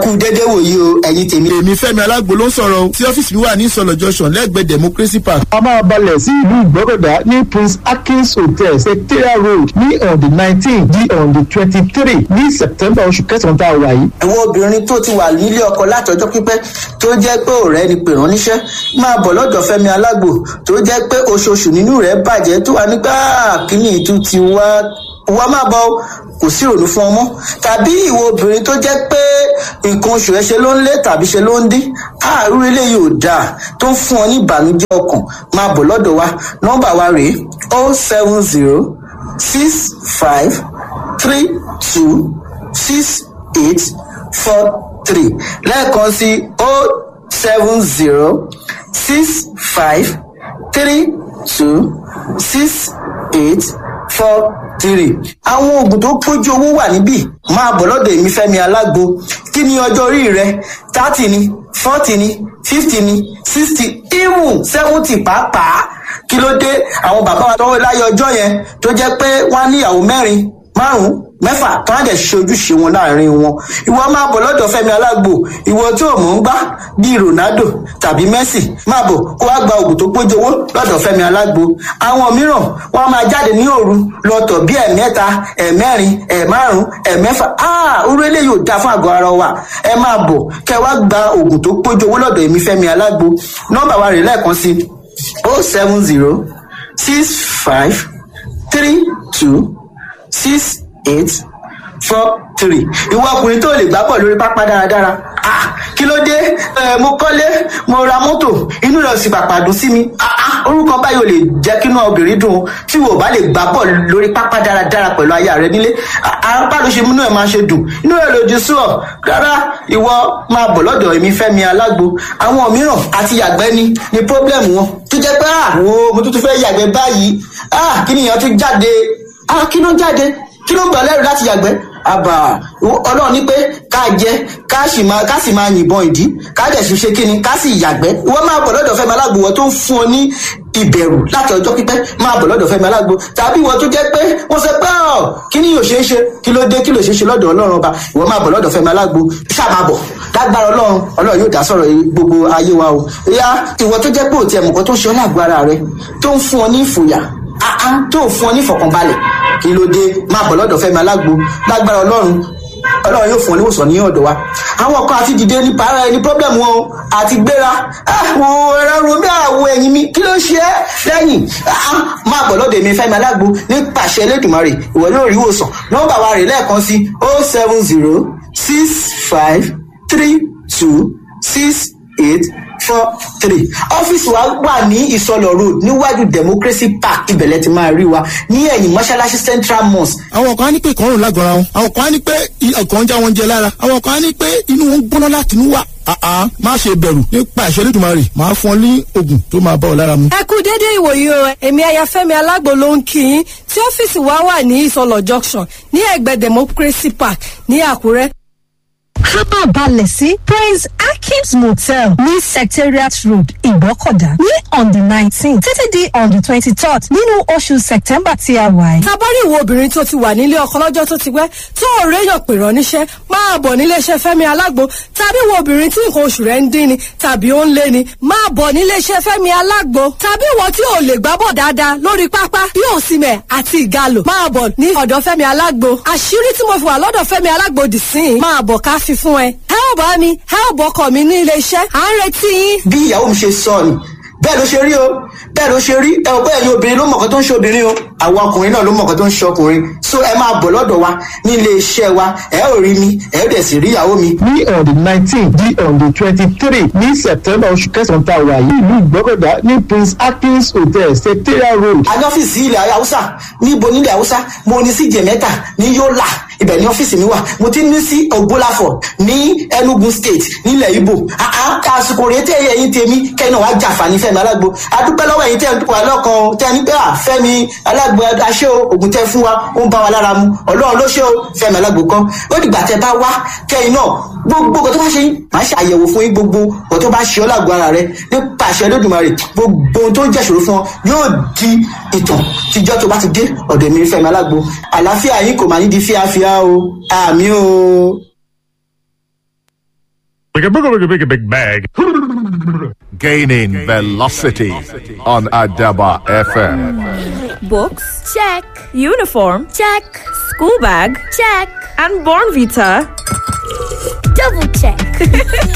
Ẹ kú dédé wòyí o, ẹ̀yin tèmi. Èmi Fẹ́mi Alágbo ló ń sọ̀rọ̀ o, tí ọ́fíìsì mi wà ní Ìsọlọ̀ Junction lẹ́gbẹ̀ẹ́ Democracy Park. A máa balẹ̀ sí ìlú Ìgbọ́kọ̀dá ní Prince Akins Hotel, Secretariat Road, ní on the 19 di on the 23 ní September, oṣù kẹsàn-án tá a wà yìí. Àwọn obìnrin tó ti wà nílé ọkọ látọjọ́ pípẹ́, tó jẹ́ pé ọ̀rẹ́ ni pè ránníṣẹ́, máa bọ̀ lọ́dọ̀ Fẹ́mi Alágbo, tó jẹ́ pé oṣooṣù nínú rẹ̀ bàjẹ́, tó wà nígbà kíní ìtú ti wá wá, máa bọ̀, kò sí ìrònú fún ọmọ. Tàbí ìwọ obìnrin tó jẹ́ pé nǹkan oṣù ẹ ṣe ló ń lé tàbí ṣe ló ń dín, àárú eléyìí ò dáa, tó ń fún ọ ní ìbànújẹ́ ọkàn, máa bọ̀ lọ́dọ̀ wa. Nọ́mbà wa rèé: 07065326843. Lẹ́ẹ̀kan sí: 07065326843. Àwọn oògùn tó pójú owó wà níbí. Máa bọ̀ lọ́dọ̀ èmi Fẹ́mi Alágbo. Kí ni ọjọ́ orí rẹ? 30 ni, 40 ni, 50 ni, 60, even 70 pàápàá. Kí ló dé? Àwọn bàbá wa tọwọ́ láyé ọjọ́ yẹn, tó jẹ́ pé wọ́n á níyàwó mẹ́rin, márùn-ún, mẹ́fà, tó á dẹ̀ ṣe ojúṣe wọn láàrin wọn. Ìwọ máa bọ̀ lọ́dọ̀ Fẹ́mi Alágbo. Ìwọ tí ò mọ̀ ń gbá bíi Ronaldo tàbí Messi, máa bọ̀ kó wá gba oògùn tó pójú owó lọ́dọ̀ Fẹ́mi Alágbo. Àwọn mìíràn, wọ́n máa jáde ní òru lọ́tọ̀ bí ẹ̀mẹ́ta, ẹ̀mẹ́rin, ẹ̀márùn, ẹ̀mẹ́fà. Orú eléyìí ò dáa fún àgọ́ ara wa. Ẹ máa bọ̀ kẹ́ wá gba oògùn tó pójú owó lọ́dọ̀ èmi Fẹ́mi Alágbo. Nọ́mbà wa rè lẹ́ẹ̀kan sí: 07065326843. Ìwọ ọkùnrin tó lè gbá bọ̀ lórí pápá dáradára, ah, kí ló dé? Ẹ mo kọ́lé, mo ra mọ́tò, inú rẹ̀ sì pàpà dùn sí mi. Ah ah, orúkọ báyìí ò lè jẹ́ kí inú obìnrin dùn. Tí wò bá lè gbá bọ̀ lórí pápá dáradára pẹ̀lú aya rẹ nílé, apá ló ṣe múnú ẹ̀ máa ṣe dùn, inú rẹ̀ lòdì sí ọ rárá. Ìwọ máa bọ̀ lọ́dọ̀ èmi Fẹ́mi Alágbo. Àwọn mìíràn àti yàgbẹ́ ni problem wọn, tó jẹ́ pé ah, wo, mo tún fẹ́ yàgbẹ́ báyìí, ah, kí nìyẹn tún jáde? Ah, kí ló ń jáde? Kí ló ń gbà lẹ́rù láti yàgbẹ́? Àbà ọlọ́run ní pé ká jẹ, ká sì máa yìnbọn ìdí, ká dẹ̀ sì ṣe kíni, ká sì yàgbẹ́. Ìwọ máa bọ̀ lọ́dọ̀ Fẹ́mi Alágbo. Wọ́n tó ń fún ọ ní ìbẹ̀rù láti ọjọ́ pípẹ́, máa bọ̀ lọ́dọ̀ Fẹ́mi Alágbo. Tàbí ìwọ tó jẹ́ pé wọ́n sọ pé ọ̀ kí ni yóò ṣe é ṣe, kí ló dé? Kí ló ṣe é ṣe lọ́dọ̀ ọlọ́run ọba? Ìwọ máa bọ̀ lọ́dọ̀ Fẹ́mi Alágbo, ṣáà máa bọ̀. Lágbára ọlọ́run, ọlọ́run yóò dá sọ̀rọ̀ gbogbo ayé wa o. Ìyá, ìwọ tó jẹ́ pé òtí ẹ̀mùkọ́ tó ń ṣe ọ́ lágbo ara rẹ, tó ń fún ọ ní ìfòyà, tó fún ọ ní ìfọ̀kànbalẹ̀, kí ló dé? Máa bọ̀ lọ́dọ̀ Fẹ́mi Alágbo. Lágbára ọlọ́run, ọlọ́run yóò fún ọ níwòsàn ní ọ̀dọ̀ wa. Àwọn kan àti dìde ní para ẹni problem wọn o, àti gbéra àwọn ẹ̀rọ romi, àwọ̀ ẹ̀yìn mi, kí ló ṣe é lẹ́yìn? Máa bọ̀ lọ́dọ̀ èmi Fẹ́mi Alágbo. Nípasẹ̀ Elédùmarè, ìwọ yóò rí ìwòsàn. Nọ́mbà wa rè lẹ́ẹ̀kan sí: 07065326843. Ọ́fíìsì wa wà ní Ìsọlọ̀ Road, níwájú Democracy Park. Ibẹ̀lẹ̀ ti máa rí wa ní ẹ̀yìn mọ́ṣáláṣí Central Mosque. Àwọn kan á ní pé ìkọrùn lágọ̀ọ́ra wọn, àwọn kan á ní pé ọkàn ń já wọn jẹ lára, àwọn kan á ní pé inú wọn ń gbóná láti inú wà. Àá, má ṣe bẹ̀rù. Nípa ìṣẹ́ Olódùmarè, máa fún ọ ní oògùn tó máa bá ọ lára mu. Ẹ kú dédé ìwòyí o. Èmi Ayafẹ́mi Alágbo ló ń kí yín, tí ọ́fíìsì wa wà ní Ìsọlọ̀ Junction, ní ẹ̀gbẹ́ Democracy Park ní Àkúrẹ́. Ká balẹ̀ sí Prince Akim's Motel ní Secretariat Road, Ìgbọ́kọ̀dá, ní on the 19 títí di on the 23rd nínú oṣù September tí a wà yìí. Tabari ìwọ obìnrin tó ti wà nílé ọkọ lọ́jọ́ tó ti pẹ́, tó ò réyàn pè rán níṣẹ́, máa bọ̀ níléeṣẹ́ Fẹ́mi Alágbo. Tàbí ìwọ obìnrin tí nǹkan oṣù rẹ̀ ń dín ni tàbí ó ń lé ni, máa bọ̀ níléeṣẹ́ Fẹ́mi Alágbo. Tàbí ìwọ tí ò lè gbábọ̀ dáadáa lórí pápá bí Òsìmẹ̀ àti Ìgalò, máa bọ̀ ní ọ̀dọ̀ Fẹ́mi Alágbo. Àṣírí tí mo fi wà lọ́dọ̀ Fẹ́mi Alágbo dì sí i, máa bọ̀ ká fi fún ẹ. Ẹ ò bá mi, ẹ ò bọ́kọ̀ mi ní iléeṣẹ́, à ń retí yín. Bí ìyàwó mi ṣe sọ ni, bẹ́ẹ̀ ló ṣe rí o, bẹ́ẹ̀ ló ṣe rí. Ẹ ò bẹ́ẹ̀ ni, obìnrin ló mọ̀kàn tó ń ṣe obìnrin o, àwọn ọkùnrin náà ló mọ̀kàn tó ń ṣe ọkùnrin. So ẹ máa bọ̀ lọ́dọ̀ wa ní ilé iṣẹ́ wa, ẹ ò rí mi, ẹ ò dẹ̀ sì rí ìyàwó mi. Ní on the 19 di on the 23 ní September, oṣù kẹsàn-án tá a wà yìí, ìlú Ìgbọ́kọ̀dá ní Prince Akins Hotel, Secretariat Road. A ní ọ́fíìsì ilẹ̀ Haúsá. Níbo nílẹ̀ Haúsá? Mo ní sí Jẹ̀mẹ́ta ní Yólà, ibẹ̀ ní ọ́fíìsì mi wà. Mo ti ní sí Ògbólàfọ̀ ní Enugu State nílẹ̀ Ibo. Àsìkò rèé tẹ́ ẹ̀yin tèmi kẹ́yìn náà wàá jàǹfààní Fẹ́mi Alágbo. Adúpẹ́ lọ́wọ́ ẹ̀yin tẹ́ ẹ̀ wà lọ́kàn o, tẹ́ ẹ ní pé à Fẹ́mi Alágbo aṣẹ́ o, ògùn tẹ́ fún wa ó ń bá wa lára mu. Ọlọ́run ló ṣe o, Fẹ́mi Alágbo kan. Ó dìgbà tẹ́ bá wá kẹ́yìn náà, gbogbo nǹkan tó bá ṣe yín, màá ṣe àyẹ̀wò fún yín. Gbogbo nǹkan tó bá ṣe ọ́ lágbo ara rẹ, nípa àṣẹ Olódùmarè, gbogbo ohun tó ń jẹ́ ìṣòro fún ọ yóò di ìtàn tíjọ́ tó bá ti dé ọ̀dọ̀ mi Fẹ́mi Alágbo. Àlàáfíà yín kò máa ní di fíafíà o. Àmì o. Big, big, big bag. Gaining velocity on Adaba FM. Books? Check. Uniform? Check. School bag? Check. And Bornvita. Double check.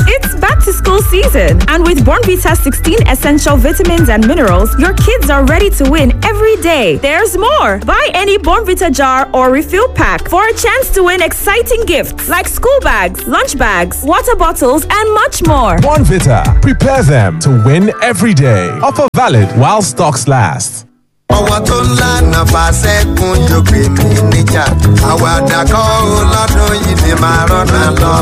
It's back to school season, and with Bornvita 16 essential vitamins and minerals, your kids are ready to win every day. There's more. Buy any Bornvita jar or refill pack for a chance to win exciting gifts like school bags, lunch bags, water bottles, and much more. Bonvita. Prepare them to win every day. Offer valid while stocks last. Ọwọ́ tó ń lànà fàṣẹ́kùn jòkè mí níjà, àwàdà kọ́ ó lọ́dún yìí ni màá rọ́nà lọ.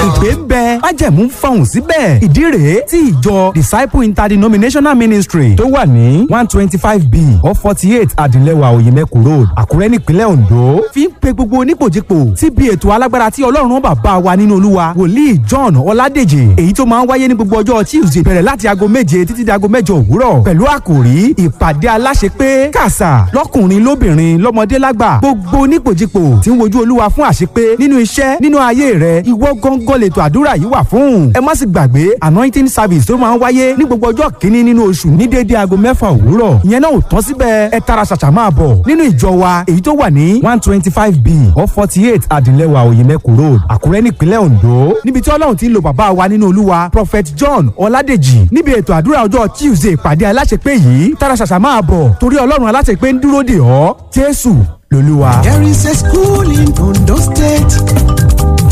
Ìpè ń bẹ, májẹ̀mú ń fọhùn síbẹ̀. Ìdí rèé tí ìjọ Disciple Interdenominational Ministry tó wà ní 125B or 48 Adìlẹ́wà Òyìnbẹ́kù Road, Àkúrẹ́ nípínlẹ̀ Ondo fi ń pe gbogbo onípòjìpò síbi ètò alágbára tí Ọlọ́run bàbá wa nínú Olúwa Wòlíì John Ọládèjì, èyí tó máa ń wáyé ní gbogbo ọjọ́ Tuesday bẹ̀rẹ̀ láti aago 7 títí di aago 8 òwúrọ̀ pẹ̀lú àkòrí ìpàdé aláṣepé kàṣà lọ́kùnrin lóbìnrin lọ́mọdé lágbà, gbogbo onípòjìpò tí ń wojú Olúwa fún àṣepé nínú iṣẹ́ nínú ayé rẹ, ìwọ gángan lètò àdúrà yìí wà fún. Ẹ má sì gbàgbé anointing service tó máa ń wáyé ní gbogbo ọjọ́ kìíní nínú oṣù ní déédéé aago 6 òwúrọ̀. Ìyẹn náà ò tán síbẹ̀, ẹ tara ṣàṣà máa bọ̀ nínú ìjọ wa èyí tó wà ní 125B or 48 Adìlẹ́wà Òyìnbẹ́kù Road, Àkúrẹ́ nípínlẹ̀ Ondo, níbi tí Ọlọ́run ti ń lo bàbá wa nínú Olúwa Prophet John Ọládèjì níbi ètò àdúrà ọjọ́ Tuesday ìpàdé aláṣepé yìí. Tara ṣàṣà máa bọ̀ torí Ọlọ́run aláṣepé ń dúró dè ọ́. Jésù lolúwa. There is a school in Ondo State.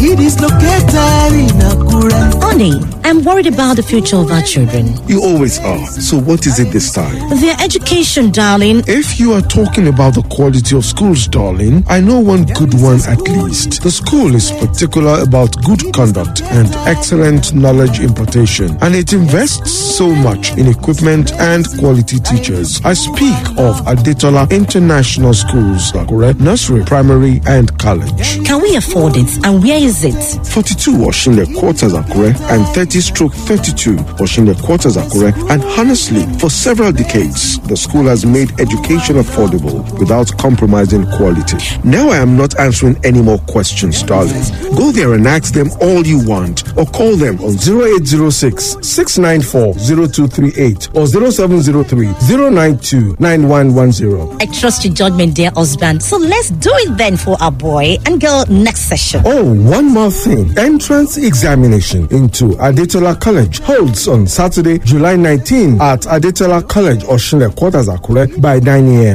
It is located in Akure. Honey, I'm worried about the future of our children. You always are. So what is it this time? Their education, darling. If you are talking about the quality of schools, darling, I know one good one at least. The school is particular about good conduct and excellent knowledge impartation, and it invests so much in equipment and quality teachers. I speak of Adetola International Schools, Akure, nursery, primary, and college. Can we afford it? And where is it? 42 Oshinle Quarters, Akure, and 30/32 Oshinle Quarters, Akure. And honestly, for several decades, the school has made education affordable without compromising quality. Now I am not answering any more questions, darling. Go there and ask them all you want, or call them on 0806 694 0238 or 0703 092 9110. I trust your judgment, dear husband. So let's do it then for our boy and girl next session. Oh, one more thing. Entrance examination into Adetola College holds on Saturday, July 19 at Adetola College, Oshinle Quarters, Akure by 9 a.m.